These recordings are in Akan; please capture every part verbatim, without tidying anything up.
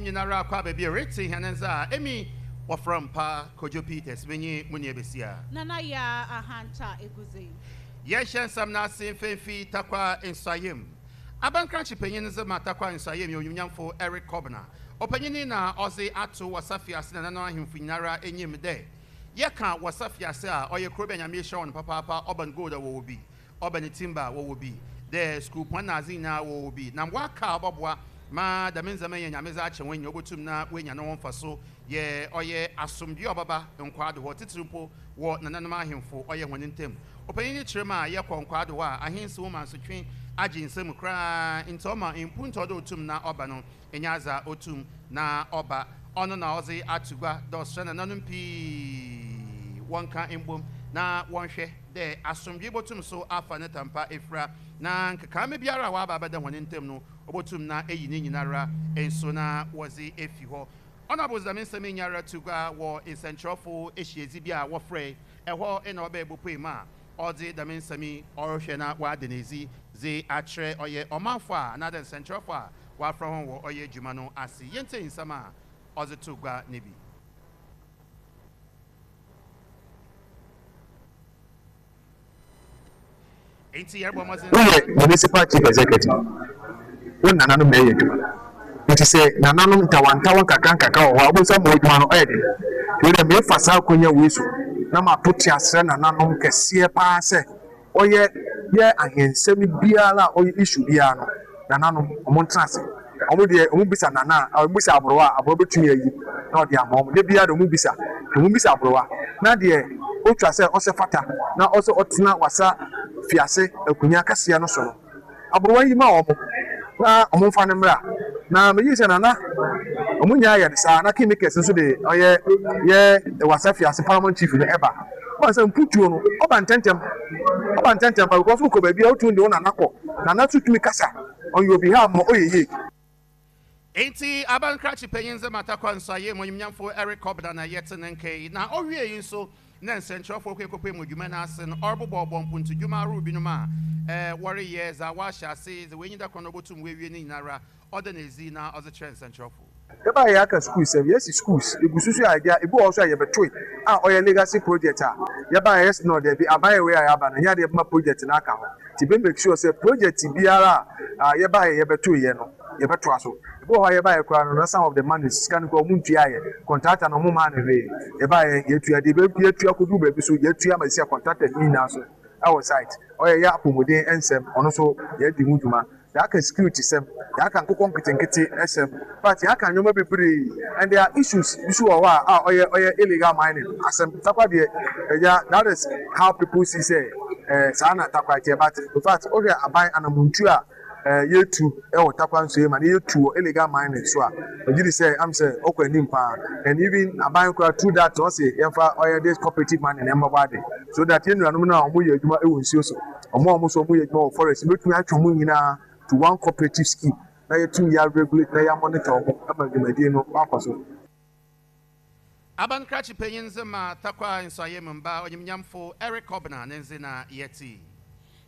Nyinara akɔ abaabi a rete hɛn nsa a emi wɔfrɛ mpa Kojo Peters, menye mu nua besia Nana Yaa Ahanta Eguze. Yɛhyɛ nsɛm no ase mfɛmfi Tarkwa Nsuaem. Abankrakye panyin nso ma Tarkwa Nsuaem yɛ onyimnyamfo Eric Kɔbena. Ɔpanyini na ɔdze ato Wasa Fiase nananom ahemfo nyinara enyim dɛ yɛka Wasa Fiase a, ɔyɛ kuro bi a Nyame hyɛ wɔn papaapa. Ɔban gold a wɔwɔ bi, ɔban timber a wɔwɔ bi, dɛ sukuupɔn na adze nyinaa wɔwɔ bi, na waka a ɔbɛboa ma dɛm ndzɛmba yɛ Nyame dze akyɛ wɔn nyina obotum na woenya ne ho mfa so yɛ ɔyɛ asomdwe a ɔbɛba nkwaado hɔ, titiri mpo wɔ nananom ahemfo ɔyɛ hɔn ntam. Ɔpanyin no kyerɛ mu a yɛkɔ nkwaado hɔ a, ahensi wo ma nsotwe agye nsam koraa, nti ɔma mpuntu ɔde otum na ɔba no ɛnyɛ adze a otum na ɔba. Ɔno na ɔdze ato gua dɛ ɔsrɛ nananom pii wɔnka mbom na wɔnhwɛ dɛ asomdwe botum so afa ne tampa efira, na nkekaama biara a waba abɛda hɔn ntam no, obotum na eyi ne nyinara nso na wɔdze efi hɔ. Ɔno abosdame nsɛm nyara to gua wɔ nsɛnkyerɛwfo ehyiadzi bi a wɔfrɛ ɛhɔ, ɛna ɔbɛyɛ bopue mu a ɔdze dɛm nsɛm yi ɔrehwɛ na wada n'edzi dze akyerɛ ɔyɛ ɔmanfo a anaadɛ nsɛnkyerɛwfo a wɔafrɛ wɔn wɔ ɔyɛ adwuma no ase. Yɛntie nsɛm a ɔdze to gua ne bi. Nti yɛrebɔ mmɔden. Woyɛ municipal chief executive, wo nananom na ɛyɛ adwuma, nti sɛ nananom ntawantawa nkakra nkakra wɔ hɔ a, wobɛsa ma adwuma no ɔyɛ den. Nti wode mefa saa akonnwa wei so na mato te asrɛ nananom kɛseɛ paa sɛ ɔyɛ yɛ ahensɛm biara a ɔyɛ issue biara no, nananom ɔmo ntena ase. Ɔmo deɛ, ɔmo bisa nana a, ɔmo bisa aborowa a, aborowa bɛtumi ayi na ɔde ama ɔmo de biara de. Ɔmo bisa, ɔmo bisa aborowa na deɛ otwa sɛ ɔsɛ fata na ɔsɛ ɔtena Wasa Fiase akonnwa kɛseɛ no so no, aborowa yi ma ɔmo na ɔmo nfa ne mmra. Na meyi sɛ nana ɔmo nyinaa yɛ no saa na kingmakers nso de ɔyɛ yɛ Wasa Fiase paramount chief no ɛba wɔn sɛ mputuo no ɔba ntɛntɛm, ɔba ntɛntɛm pa, because wokɔ baabi a wotumi de wo nana kɔ, nana nso tumi kasa on your behalf ma ɔyɛ yie. Enti abankrakye panyin sɛ ma Tarkwa Nsuaem, onyimnyamfo Eric Kɔbena, na yɛte ne nka yi. Na ɔwie yi nso na nsɛnkyerɛwfoɔ kɔ ekɔpɛ mu dwuma no ase no, ɔrebobɔbɔ mpuntudwuma ahorow binom a ɛɛ wɔreyɛ dza wɔahyɛ ase dze wɔenyi da kwan na ɔbɛtum wɔawie ne nyinara, ɔda n'edzi na ɔdze kyerɛ nsɛnkyerɛwfo. Yɛbaa yɛ aka schools sɛm, yɛsi schools egu soso a agya ebi wɔ hɔ so a yɛbɛtoe a ɔyɛ legacy project a yɛbaa yɛ no, dɛbi, aban yɛ wei a yɛaba no nyɛ adeɛ bɛma project no aka ho, nti bɛ make sure sɛ project biara a yɛbaa yɛ yɛbɛtoe yɛ no, yɛbɛtoa so. Ebi wɔ hɔ a yɛbaa yɛ koraa no na some of the money, sika no koraa ɔmo ntua yɛ contractor no, ɔmo maa no hwee. Yɛbaa yɛ yɛtua deɛ yɛtua kodu baabi so, yɛtua ma esi a contractor ne nyinaa so ɛwɔ site. Ɔyɛ yɛ apɔmuden nsɛm, ɔno nso yɛdi ho dwuma. Yɛaka security sɛm, yɛaka nkokɔ nketenkete ɛsɛm, but yɛaka nneɛma bebree, and there are issues bi so wɔ hɔ a a ɔyɛ ɔyɛ illegal mining asɛm. Tarkwa deɛ ɛya, that is how people see sɛ ɛɛ saa na Tarkwa teɛ, but in fact, wohwɛ aban anamontu a ɛɛ yɛtu ɛwɔ Tarkwa nso yɛ ma na yɛtu wɔ illegal mining so a, megye di sɛ am sɛ ɔkɔ anim paa. And even aban koraa through that, ɔsi yɛmfa ɔyɛ this cooperative mining ɛmbɛbɔ ade so that yɛn nuanom no a wɔn yɛ adwuma ɛwɔ nsuo so, wɔn a wɔn nso wɔn yɛ adwuma wɔ forest, ebɛtumi atwe wɔn nyinaa to one cooperative scheme na yɛtumi yɛ regulate na yɛ monitor wɔn ama dwumadie no akɔ so. Abankrakye panyin nze ma Tarkwa Nsuaem mba, onyimnyamfo Eric Kɔbena ne nze na yɛte.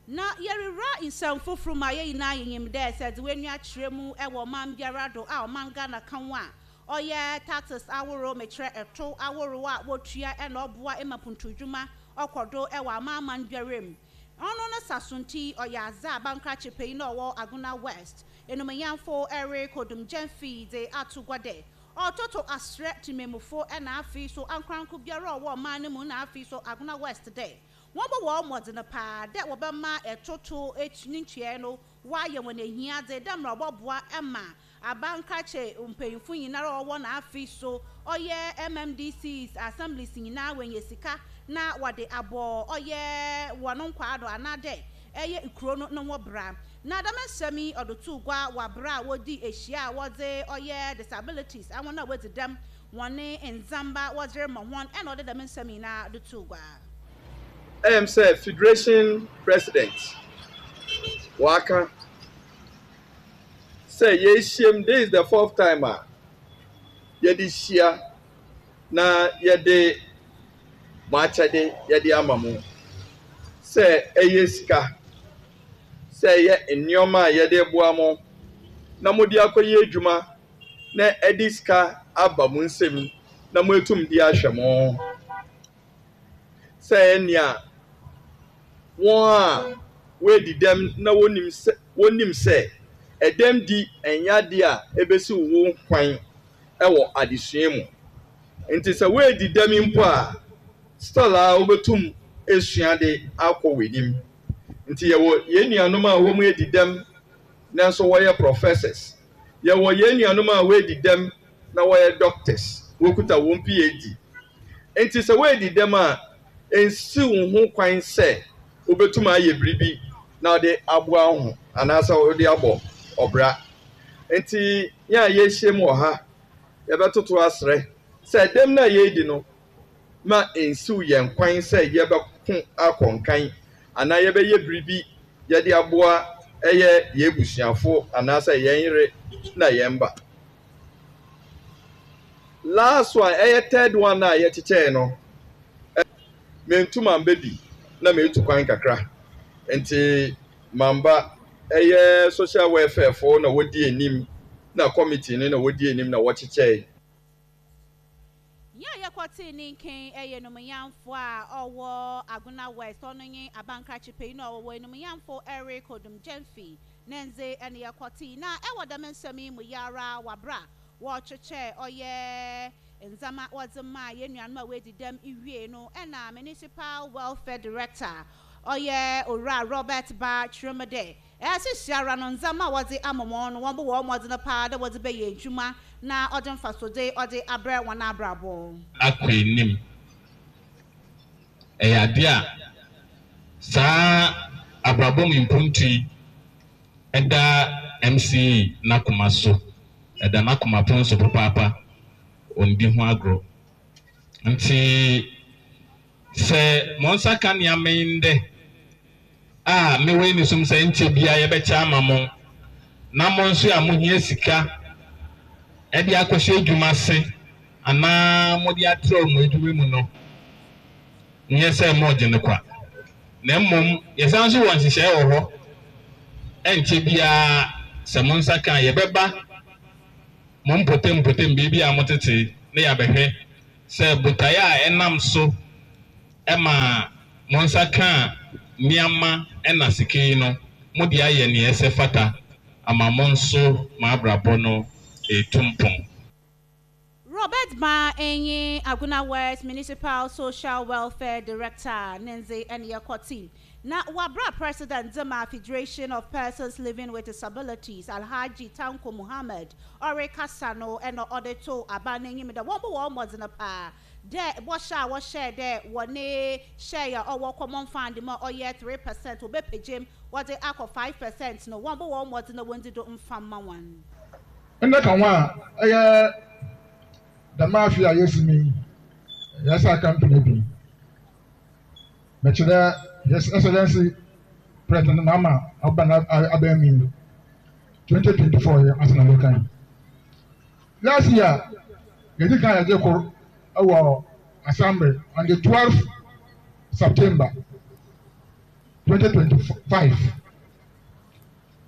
Na yɛrewura nsɛm foforɔ mu a, yɛn nyinaa yɛnyim dɛ sɛ dze w'ani akyerɛ mu ɛwɔ ɔman biara do a ɔman Ghana ka ho a, ɔyɛ taxes ahorow, mekyerɛ ɛto ahorow a wotua, ɛna ɔboa ma puntudwuma ɔkɔ do ɛwɔ amaaman biara mu. Ɔno no saso nti ɔyɛ adze a abankrakye panyin na ɔwɔ Agona West, enumanyamfo Eric Odum Gyamfi, dze ato gua dɛ ɔtoto asrɛ temmamufo ɛna afei so ankoranko biara a ɔwɔ ɔman no mu na afei so Agona West dɛ wɔn bɔ wɔn mmɔden paa dɛ wɔbɛma ɛtoto etu ne ntua no wɔayɛ wɔn ehia dze dɛ mmerɛ ɔbɔboa ɛma abankrakye mpanyinfo nyinara a ɔwɔ n'afei so ɔyɛ M M D Cs, assemblies nyinaa wɔnyɛ sika na wɔde abɔ ɔyɛ wɔn nkwaa do anaadɛ ɛyɛ kuro no ne ho bra. Na dɛm nsɛm yi ɔde to gua wɔ abere a wɔdi ahyia a wɔdze ɔyɛ disabilities, ahɔn a wɔdzi dɛm, wɔne ndzamba wɔdze rema wɔn, ɛna ɔde dɛm nsɛm nyinaa de to gua. Ɛyɛ sɛ federation president waka sɛ yɛahyiam, this is the fourth time a yɛde hyia na yɛde mo akyɛde yɛde ama mo, sɛ ɛyɛ sika, sɛ ɛyɛ nneɛma a yɛde boa mo na mode akɔyɛ adwuma. Na ɛde sika aba mo nsam na mo etum de ahwɛ mo sɛ nea wɔn a wɔadi dɛm na wɔnim sɛ wɔnim sɛ ɛdɛm di ɛnyɛ adeɛ a ebesi wo kwan ɛwɔ adesua mu. Nti sɛ wɔadi dɛm mpo a, still a wobɛtum esua de akɔ w'anim. Nti yɛwɔ yɛn nuanom a wɔn adi dɛm nanso wɔyɛ professors, yɛwɔ yɛn nuanom a wɔadi dɛm na wɔyɛ doctors, wɔkuta wɔn P H D. Nti sɛ wɔadi dɛm a, nsi wo ho kwan sɛ wobɛtum ayɛ biribi na wɔde aboa wo ho anaasɛ wɔde abɔ ɔbra. Nti yɛn a yɛahyia mu wɔ ha, yɛbɛtoto asrɛ sɛ dɛm no a yɛredi no ma nsiw yɛn kwan sɛ yɛbɛko akɔ nkan anaa yɛbɛyɛ biribi yɛde aboa ɛyɛ yɛn abusuafo anaasɛ yɛn yere na yɛn ba. Last one, ɛyɛ third one a yɛkyekyɛɛ no, mentu mamba bi na metu kwan kakra nti mamba. Ɛyɛ social welfare fo na wɔdi anim na committee no na wɔdi anim na wɔkyekyɛe. Yɛn a yɛkɔtee ne nkan yɛ nomuyamfo a ɔwɔ Agona West, ɔno nye abankrakye panyin a ɔwɔ enumuyamfo Eric Odum Gyamfi ne ndze ɛne yɛkɔtee. Na ɛwɔ dɛm nsɛm yi mu yara wabra wɔrekyekyɛ ɔyɛ ndzɛmba wɔdze maa yɛn nuanom a wɔadi dɛm wie no, ɛna Municipal Welfare Director, ɔyɛ Owura Robert Ba, kyerɛ mu dɛ ɛsisi ara no ndzɛmba a wɔdze ama wɔn no, wɔn bɔ wɔn mmɔden paa dɛ wɔdze bɛyɛ adwuma na ɔde mfasode ɔde abrɛ wɔn abrabɔ. Akɔ anim ɛyɛ adeɛ a saa abrabɔ mu mpuntu yi ɛda M C E n'akoma so, ɛda n'akoma pon so papaapa, ɔndi ho agorɔ. Nti sɛ mo nsa ka nneɛma yi ndɛ a, mewɔ ani som sɛ nkyɛ bia yɛbɛkyɛ ama mo na mo nso a mohia sika ɛde akɔhyɛ adwuma ase anaa mode atrɛw mo adwuma mu no, nyɛ sɛ moɔgye no kwa, na mmom yɛsan nso wɔ nhyehyɛe wɔ hɔ. Ɛnkyɛ biara sɛ mo nsa ka a, yɛbɛba mo mpɔtam mpɔtam baabi a motete na yɛabɛhwɛ sɛ botaeɛ a ɛnam so ɛma mo nsa ka nneɛma ɛna sika yi no, mode ayɛ nea ɛsɛ fata ama mo nso mo abrabɔ no ɛtu mpɔn. Robert Ma enye Agona West Municipal Social Welfare Director Nenze ɛne yɛkɔte. Na wabra President Zema Federation of Persons Living with Disabilities, Alhaji Tanko Muhammad, ɔrekasa no, ɛna ɔde to aba n'enyim dɛ wɔn bɔ wɔn mmɔdzen paa dɛ wɔhyɛ a wɔhyɛ dɛ wɔne hyɛ a ɔwɔ common fund mu a ɔyɛ three percent, wɔbɛpɛgyem wɔde akɔ five percent no, wɔn bɔ wɔn mmɔdzen na wɔn di do mfa mma wɔn. Ndɛ ka ho a ɛyɛ dɛm afe a yɛsi mi yi, yɛsɛ aka mpene bi mɛkyerɛ His Excellency President Mahama ɔba na abɛn mi twenty twenty four yɛ asena mɛka yi. Last year yɛdi kan yɛgye kor ɛwɔ assembly on the twelfth September twenty twenty five,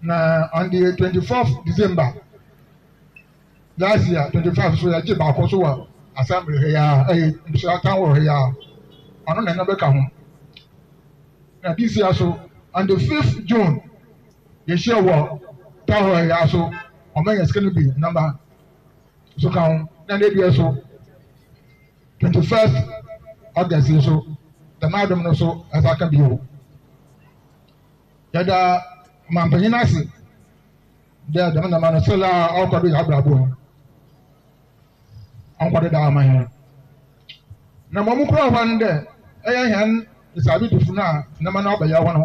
na on the twenty fourth December last year twenty five so yɛgye baako so wɔ assembly ha yi a ɛyɛ mbusua town hall ha yi a ɔno na ɛna bɛka ho. Na this year so on the fifth June yɛhyia wɔ town hall yi a so ɔmo yɛ sika no bi namba so ka ho. Na ne deɛ so twenty first August yi so dɛm adum no so ɛsa ka bio. Yɛda ɔmanpanyin ase dɛ dɛm nama no sɛlɛ a ɔkɔ do yɛ abrabɔ ɔnkɔ do da ama yɛn na ma ɔmo kura hɔ no dɛ ɛyɛ hɛn nsabidifo no a nama no abɛyɛ hɔ no.